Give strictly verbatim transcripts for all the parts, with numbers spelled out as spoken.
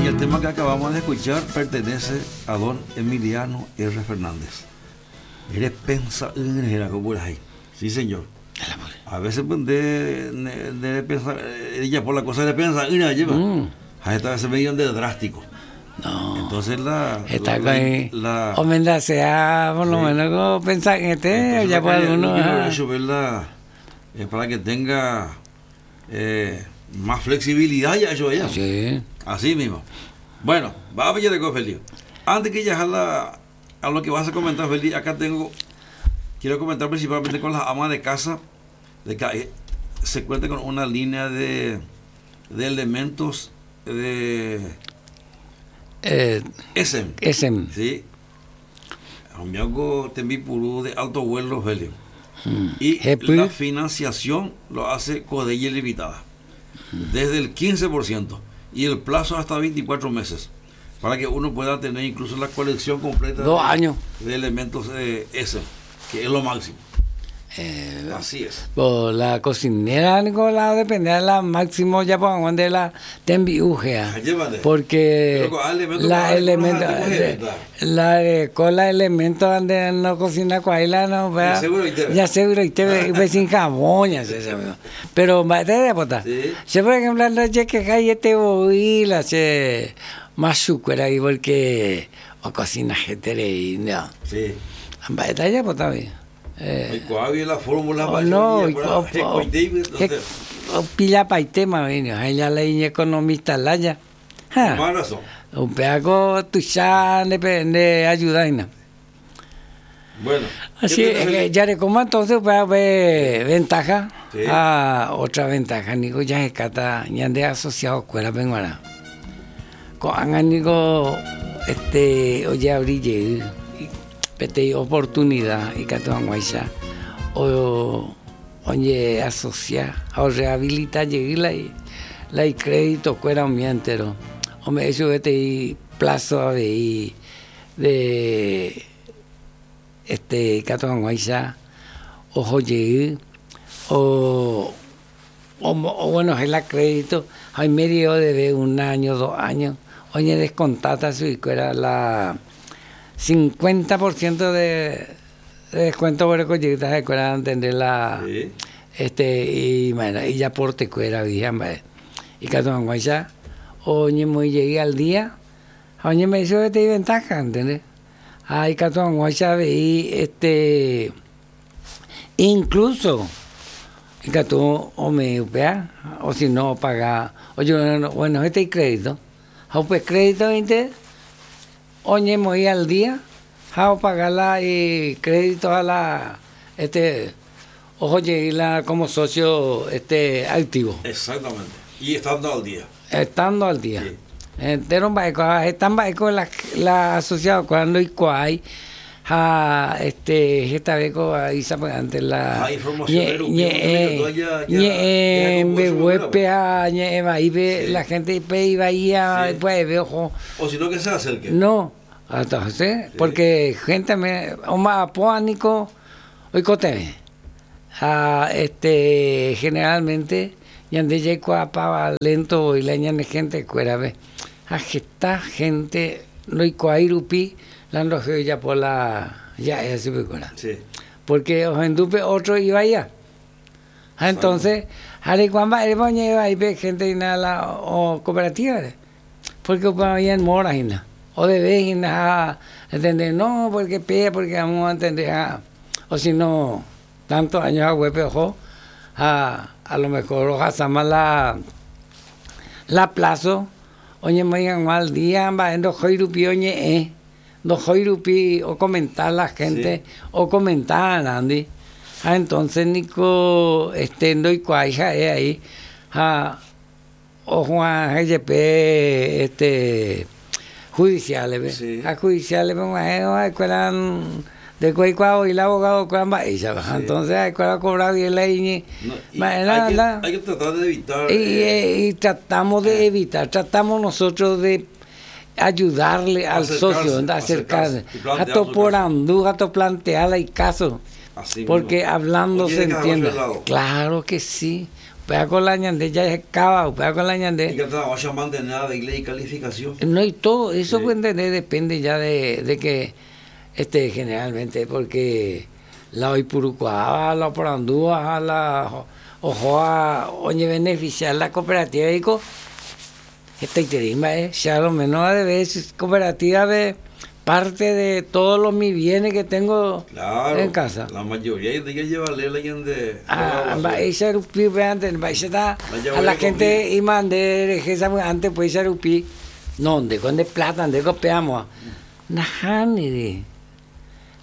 Y el tema que acabamos de escuchar pertenece a don Emiliano R. Fernández. Eres pensa ahí. Sí, señor. A veces pues, de, de, de pensar, ella por la cosa de pensar, lleva. Mm. A esta vez medio de drástico. No. Entonces la. Está la, la, o mientras sea, por lo sí. menos como pensar en este, ya por alguno. Eso, ¿verdad? Es para que tenga eh, más flexibilidad ya eso allá. Sí. Así mismo. Bueno, va a ver Felipe. Antes que ya a, a lo que vas a comentar, Felipe, acá tengo. Quiero comentar principalmente con las amas de casa, de que se cuenta con una línea de, de elementos de eh, S M. S M. Sí. Amigo Tembipurú de alto vuelo, Felipe. Mm. Y Jepu. La financiación lo hace Codelle Limitada. Mm. Desde el quince por ciento y el plazo hasta veinticuatro meses. Para que uno pueda tener incluso la colección completa Dos de, años. de elementos de S M, que es lo máximo. Eh, Así es. Pues la cocinera, Nicolás, depende de la máximo ya pongan de la tembiujea. Porque la elemento, la cola elemento donde no cocina cuaila no vea. Ya seguro y te ve sin jabón ya se sabe. Pero te de bota. Se por ejemplo la que hay este voy la se más sucura ahí porque o cocina gente y no. Sí. Amba ya bota bien. Eh, ¿cuál es la fórmula para no, o pila pa tema vino, ella la economista la ya. Un pedazo tu ya de ayuda. Bueno, así es que ya le como entonces va a ver ventaja. Sí. Ah, otra ventaja, nico ya se cata, ya de asociado escuela penguara. Con nico este oye abrille pete oportunidad y catuanguaiza o oye asocia o rehabilita llegué y la y crédito cuera un entero o me eso este plazo de de este catuanguaiza o llegué o o, o bueno es la crédito hay medio de un año dos años oye descontata su y cuera la cincuenta por ciento de, de descuento por el cochita de cuera entender la sí. este y bueno y ya por te cuera vieja y catuanguaiza oye muy llegué al día oye me hizo este ventaja ¿entendés? Ay catuanguaiza veí este incluso y catu o me upea o si no paga oye bueno, bueno este crédito o pues crédito veinte oye, muy al día, jao pagar la y crédito a la, este, ojo, llegué como socio este activo. Exactamente. Y estando al día. Estando al día. Sí. Entero están bajo la la asociado cuando y cuál ja este esta vez ahí antes la ah, información la gente iba ahí pues veo o si no que se acerque. No, entonces, sí. Porque gente me o más apónico hoy cote. Ah, este generalmente yande llego a pa lento y la ñane gente cuera ve. A gente no y cuairupi la no ya por la ya es así sí. Porque o endupe otro iba allá. Entonces, Arecuamba, iba ahí gente en la o cooperativa, porque había en mora o de vez entender no porque pie porque vamos a entender ah, o si no tantos años a huepe ojo a a lo mejor ojalá la la plazo oye me digan mal día va en dos joirupi oye eh dos joirupi o comentar la gente sí. O comentar Andy ah, entonces Nico este no y cuaija eh, ahí ah, o Juan G G P este judiciales sí. A judiciales pues de cuál y el abogado cuál va ella sí. Entonces a cuál cobrar bien la y, no, y hay, la, que, la, hay que tratar de evitar y, eh, y tratamos de evitar tratamos nosotros de ayudarle al socio, acercarse, a to por andú, a to plantearle el caso. Así porque mismo. Hablando Oye, se entiende. Claro que sí. Upéva la ñande jahecáva, upéva la ñande. Y que vaya a mantener de ley y calificación. No, y todo eso, pues, entender, depende ya de, de que, este, generalmente, porque la oipurukuaáva, la oporandúva, la ohóva oñebeneficiar la cooperativa y hetaiterei mba'e, che a lo menos de veces cooperativa de parte de todos los mis bienes que tengo Claro, en casa. La mayoría de que llevarle la de Ah, mba'éicha rupi antes, mba'éicha a la gente imande antes pues rupi no, de con de plata, de copiamos. Nahániri.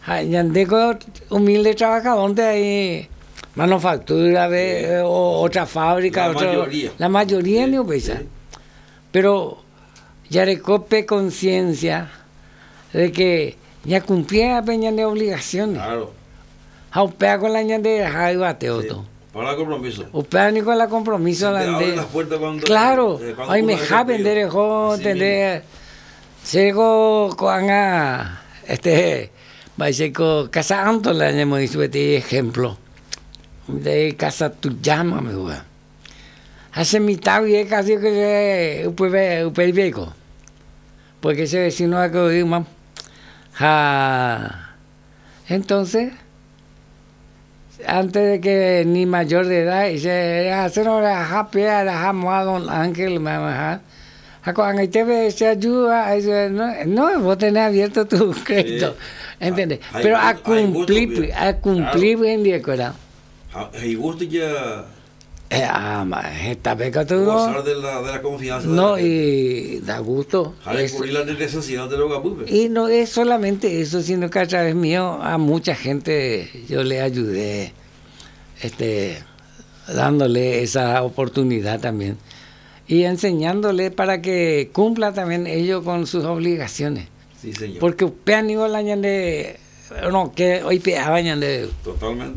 Ha ñandeko humilde trabajador de ahí manufactura ve, o otra fábrica, La otro, mayoría. La mayoría Sí, ni upéicha. sí. Pero jarekópe conciencia de que ya cumplía peña de obligaciones. Claro. Ha upéva con la ñande yvate Sí. otro. Para el compromiso. Upéva ni con la compromiso Se te la abren de las puertas cuando- Claro, eh, cuando ay uno me es ja cumplido. vender jo Así entender. Sego ko'ág̃a este mba'éichako Casa Antola ñamoĩ peteĩ ejemplo de Casa Tuyama me gua. Hace mitad bien casi que se upe upe viejo. Porque ese vecino acá ja entonces antes de que ni mayor de edad dice hacer hora ja don Ángel mamá ja ko'ag̃aite se ayuda no, no vos tenés abierto tu crédito Sí. ¿entendés? Hay Pero a gusto- hay gusto, cumplir bien. a cumplir Claro. bien de acuerdo Hay gusto ya eh, ah, ma, esta beca tú gozar de la, de la confianza. de no la gente. y da gusto Ja, de Es- cubrir la necesidad de los gapupes. Y no es solamente eso, sino que a través mío a mucha gente yo le ayudé, este, dándole esa oportunidad también. Y enseñándole para que cumpla también ellos con sus obligaciones. Sí, señor. Porque upéva ningo la ñande, no, que hoy peaba ñande. Totalmente.